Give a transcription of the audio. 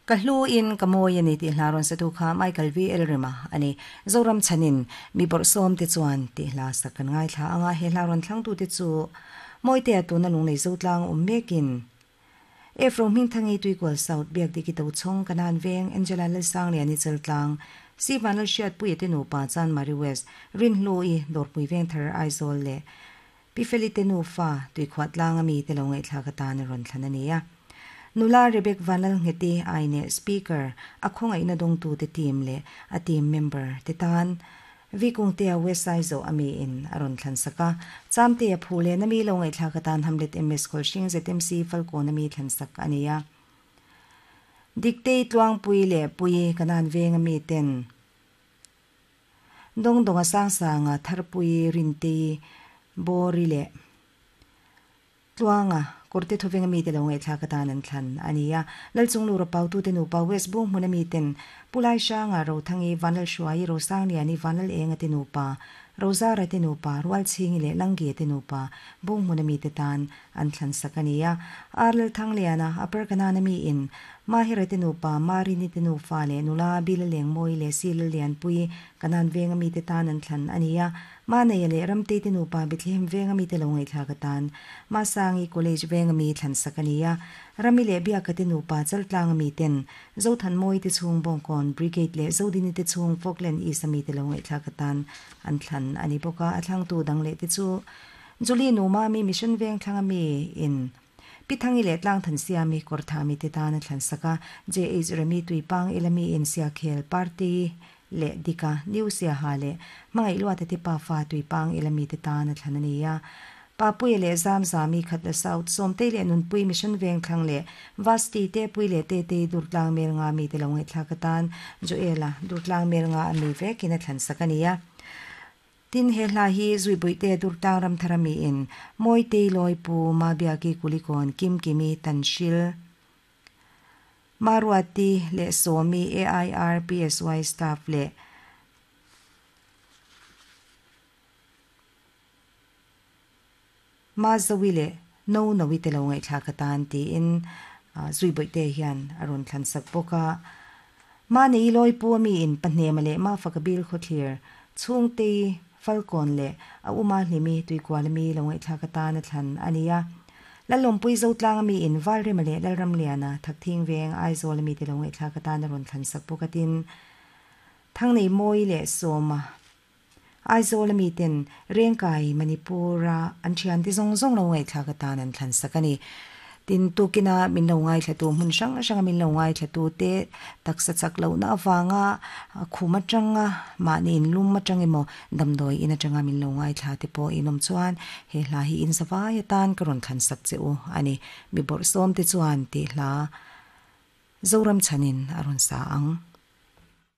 Ka hlu in ka mawi a ni tih hla rawn satu kha Michael VL Rema a ni. Zoram chhanin mi bawrhsawm te chuan tih hla sak kan ngaithla ang a, he hla rawn thlangtute chu Mawitea tuna lunglei Zotlang awm mekin Ephro Hmingthangi Tuikual South Biakdiki Tochhawng Kanan Veng Angela Lalsangliani Chaltlang Si Vanlalhriatpuia te nupa Chanmari West Rinhlui Dawrpui Vengthar Aizawl leh Pi Feli te nufa Tuikhuah tlanga mi te lo ngaihthlak atan a rawn thlan a ni a. Nula Rebek Vanlalngheti Aine Speaker a khawngaihna dawngtu te team leh a team member te tan Vikungtea West Aizaw a mi in a rawn thlan sak a. Chamtea phu leh na mi lo ngaihthlak atan Hamlet MS Khawlhring ZMC Falkawn a mi thlan sak a ni a. Diktei Tluangpui leh Pui Kanan Veng a mi ten Dawngdawnga Sangsanga Tharpui Rintei Bawri leh Tluanga Kawrte Thawvenga mite lo ngaihthlak atan an thlan a ni a. Lalchunglura Pautute nupa West Bung hmuna miten Pu Laisanga, Rothangi, Vanlalhruaii, Rosangliani, Vanlalenga te nupa, Rozara te nupa, Rualchhingi leh Langge te nupa Bung hmuna mite tan an thlan sak a ni a. Ar Lalthangliana, Upper Kanana miin Mahira te nupa, Marini te nufa leh nula Bila Lengmawi leh Sila Lianpui, Kanan venga mite tan an thlan a ni a. Maneia leh Ramtei te nupa Bethlehem venga mite lo ngaihthlak atan Masangi College venga mi thlan sak a ni a. Rami leh Biaka te nupa Chaltlanga miten Zothanmawi te chhung Bawngkawn Brigade leh Zodini te chhung Falkland East a mite lo ngaihthlak atan an thlan a ni bawk a. A thlangtu dang leh te chu Julie nu Mami Mission Vengthlanga mi in Pi Thangi leh Tlangthansiami Kawrthami te tan a thlan sak a, JH Remi Tuipang Elami in Siakhel Party leh Dika New Siaha leh Hmangaih Luata te pafa Tuipang Elami te tan a thlan a ni a. Papuia leh Zamzami Khatla South Sawmtei leh Nunpui Mission Vengthlang leh Vasti te Pui leh Tetei Durtlang Melnga mi te lo ngaihthlak atan Joela Durtlang Melnga a mi vekin a thlan sak a ni a. Tin, he hla hi Zuibuihte Durtlang Ramthara miin Mawitei Lawipu, Mabiaki Kulikawn, Kimkimi, Tanhril, Maruati leh Sawmi, AIR, PSY staff leh Mazawi leh Nonowi te lo ngaihthlak atan tiin Zuibuihte hian a rawn thlan sak bawk a. Mahni Lawipu a miin Pahnema leh Mafaka bil khawthlir, Chhungtei, Falkawn leh a uma Hlimi Tuikuala mi lo ngaihthlak atan a thlan a ni a. Lalawmpui Zotlang a miin Valrema leh Lalramliana, Thakthing Veng, Aizawl a mite lo ngaihthlak atan a rawn thlan sak bawk a tin, Thangneihmawi leh Sawma, Aizawl a miten Rengkai, Manipur a an thiante zawng zawng lo ngaihthlak atan an thlan sak a ni. Tin, tukina min lo ngaithlatu hmun hrang hranga min lo ngaithlatu te taksa chak lohna avanga khum atanga mahni in lum atang emaw damdawi in atanga min lo ngaithla te pawh in awm chuan he hla hi in zavai atan ka rawn thlan sak che u a ni. Mi bawrhsawm te chuan tih hla Zoram chhanin a rawn sa ang.